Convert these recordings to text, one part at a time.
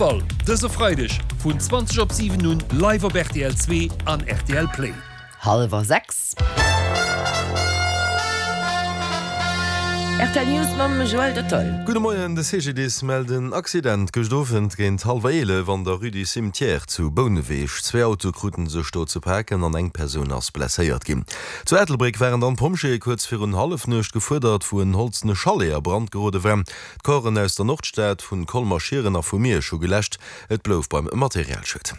Ball dëse Freideg vun 20 op 7 un live op rtl 2 an rtl Play. Hallwer 6. Rtl News mam Joël Dottoll. Gudde Moien, De CGDIS mellt en Accident gëscht Owend géint hallwer 11 an der Rue du Cimetière zu Bouneweg. Zwee Autoe krute sech do ze paken an eng Persoun ass blesséiert ginn. Zu Ettelbréck waren dann d'Pompjeeë kuerz virun Hallefnuecht gefuerdert, wou en holzene Chalet a Brand gerode war. D'Corpsen aus der Nordstad, vun Colmer, Schieren a vu Miersch hu geläscht. Et blouf beim Materialschued.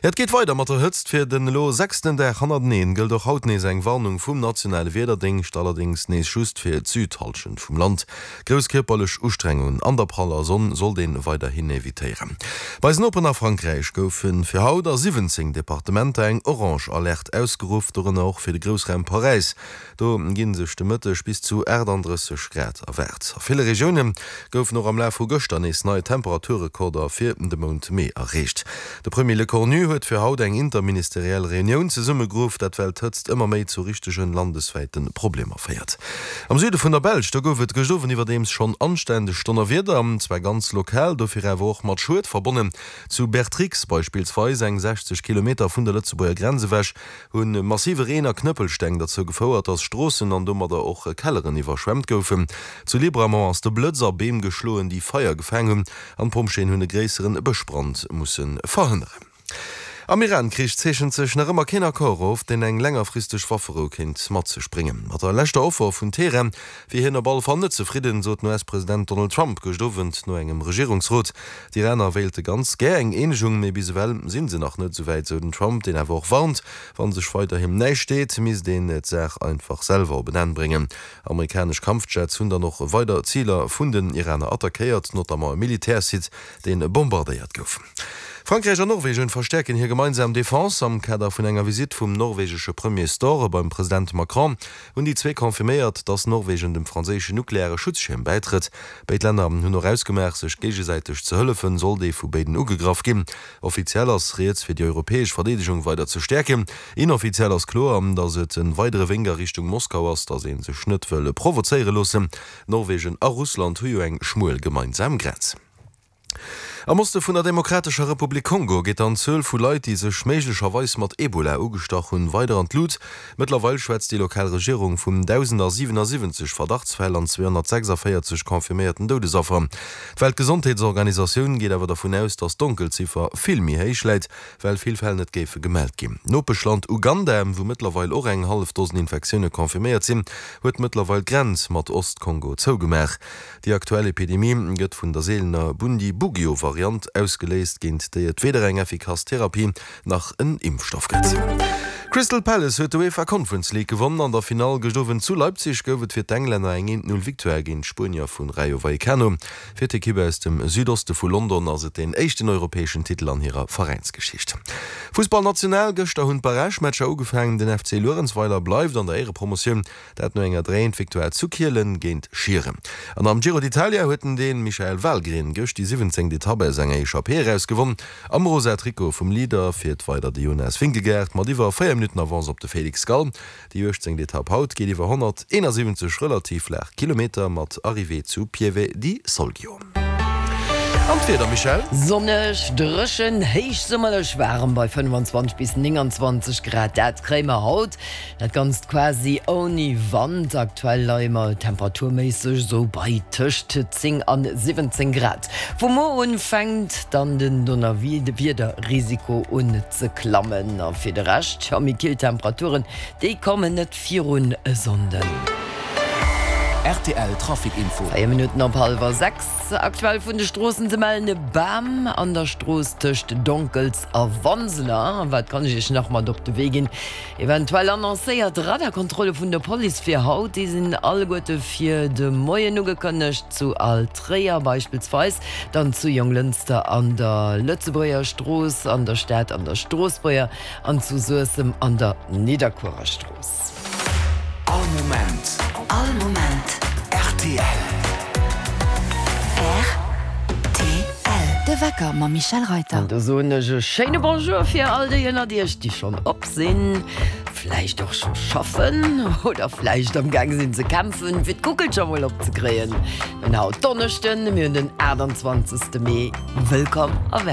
Jo, et geet weider mat der Hëtzt. Fir den elo sechsten Dag hannerteneen gëllt och haut nees eng Warnung vum nationale Wiederdéngscht, allerdéngs nees just fir d'Südhallschent vum Land. Grouss kierperlech Ustrengungen an der praller Sonn sollt een weiderhin evitéieren. Bei eisen Noperen a Frankräich goufe fir haut a 17 Departementer eng orange Alerte ausgeruff, dorënner och fir de Groussraum Paräis. Do gi sech de Mëtteg bis zu 38 Grad erwaart. A ville Regioune goufen och am Laf vu gëschter nees nei Temperaturrekorder fir de Mount Mee erreecht. De Premier Lecornu huet fir haut eng interministeriell Reunioun zesummegeruff, dat well d'Hëtzt ëmmer méi zu richtege landeswäite Problemer féiert. Am Süde vun der Belsch, do gouf et gëscht Owend iwwerdeems schonn anständeg Donnerwieder, zwar ganz lokal, dofir awer och mat Schued verbonnen. Zu Bertrix beispillsweis, eng 60 Kilometer vun der Lëtzebuerger Grenz ewech, Hu massive Reen a Knëppelsteng derzou gefouert, dass Stroossen an domadder och Kelleren iwwerschwemmt goufen. Zu Libramont ass de Blëtz a Beem geschloen, déi Feier gefaang hunn, an d'Pompjeeën hunn e gréisseren Bëschbrand musse verhënneren. Am Iran-Krich zeechent sech nach ëmmer keen Accord of, deen eng längerfristeg Wafferou kéint mat sech bréngen. Mat der leschter Offer vun Teheran wier hien op alle Fall net zefridden, sot den US-President Donald Trump gëscht Owend no engem Regierungsrot. D'Iraner wéilte ganz gär eng Eenegung, mee bis ewell si se nach net esouwäit, sou den Trump, deen awer och warnt, wa sech weiderhin näischt deet, misst een d'Saach einfach selwer op en Enn bréngen. Amerikanesch Kampfjets hunn dann och weider Ziler vun den Iraner attackéiert, notamment e Militärsite, dee bombardéiert gouf. Frankräich an Norwegen verstäerken hir gemeinsam Defense. Am Kader vun enger Visitt vum norwegesche Premier Støre beim President Macron hunn déi zwee confirméiert, datt Norwegen dem franséischen nukleare Schutzschierm bäitrëtt. Béid Länner hunn och ausgemaach, sech géigesäiteg ze hëllefen, sollt ee vu béiden ugegraff ginn. Offiziell ass rieds, fir déi europäesch Verdeedegung weider ze stäerken. Inoffiziell ass kloer, datt et e weidere Wénk a Richtung Moskau ass, datt ee sech net wëll provozéiere loossen. Norwegen a Russland hu jo eng schmuel gemeinsam Grenz. Am Oste vun der Demokratescher Republik Kongo geet dann d'Zuel vu Leit, déi sech méiglecherweis mat Ebola ugestach hunn, weider an d'Lut. Mëttlerweil schwätzt déi lokal Regierung vun 1.077 Verdachtsfäll an 246 confirméierten Doudesaffer. D'Weltgesondheetsorganisatioun geet awer dervun aus, datt d'Donkelziffer vill méi héich läit, well vill Fäll net géife gemellt ginn. D'Nopeschland Uganda, wou mëttlerweil och eng hallef Dosen Infektioune confirméiert sinn, huet mëttlerweil d'Grenz mat Ost-Kongo zougemaach. Déi aktuell Epidemie gëtt vun der seelener Bundibugyo-Variant ausgeléist, géint déi et weder eng effikass Therapie nach en Impfstoff gëtt. Crystal Palace huet d'UEFA Conference League gewonnen. An der Finall gëscht Owend zu Leipzig gouf et fir d'Englänner eng 1, 0 Victoire géint d'Spuenier vu Rayo Vallecano. Fir d'Ekipp aus dem Südoste vu London ass et deen éischten europäeschen Titel an hirer Veräinsgeschicht. Fussball national, Gëschter hunn d'Barragematcher ugefaangen. Den FC Luerenzweiler bleift an der Éierepromotioun. Dat no enger 3 Eent Victoire zu Kielen géint Schieren. An am Giro d'Italia huet den Dän Michael Valgren gëscht déi 17. Etapp aus enger Echappée eraus gewonn. Am rosa Trikot vum Leader fiert weider de Jonas Vingegaard mat iwwer 4 Minutten Avance op de Felix Gall. Déi 18. Etapp haut geet iwwer 171 relativ flaach Kilometer mat Arrivée zu Pieve di Soglio. An d'Wieder, Michèle? Sonneg, dréchen, héichsummerlech waarem bei 25 bis 29 Grad, dat kréie mer haut. Dat Ganzt quasi ouni Wand. Aktuell leie mer temperaturméisseg esou bei tëscht 10 an 17 Grad. Vu muer un fänkt dann den Donnerwiederrisiko un ze klammen. A fir de Rescht, jo, méi kill Temperaturen, déi kommen net virun e Sonnden. Rtl Trafic Info. 4 Minutten op hallwer 6. Aktuell vun de Stroossen ze mellen, e Bam an der Strooss tëscht Donkels a Wanseler. Wat kann ech Iech nach mat op de Wee ginn? Eventuell annoncéiert Radarkontrolle vun der Police fir haut, déi sinn alleguerte fir de Moien ugekënnegt, zu Altréier beispillsweis, dann zu Jonglënster an der Lëtzebuerger Strooss, an der Stad an der Stroossbuerger an zu Suessem an der Nidderkuerer Strooss. All Moment. All Moment. Rtl. Rtl. De Wecker mam Michèle Reyter. An do soen ech e schéine Bonjour fir all déi ënnert iech, déi schonn op sinn, vläicht och scho schaffen oder vläicht am Gaang sinn ze kämpfen, fir d'Kuckelcher mol opzekréien. Mir hunn haut Donneschden, mir hunn den 28. Mee. Wëllkomm a.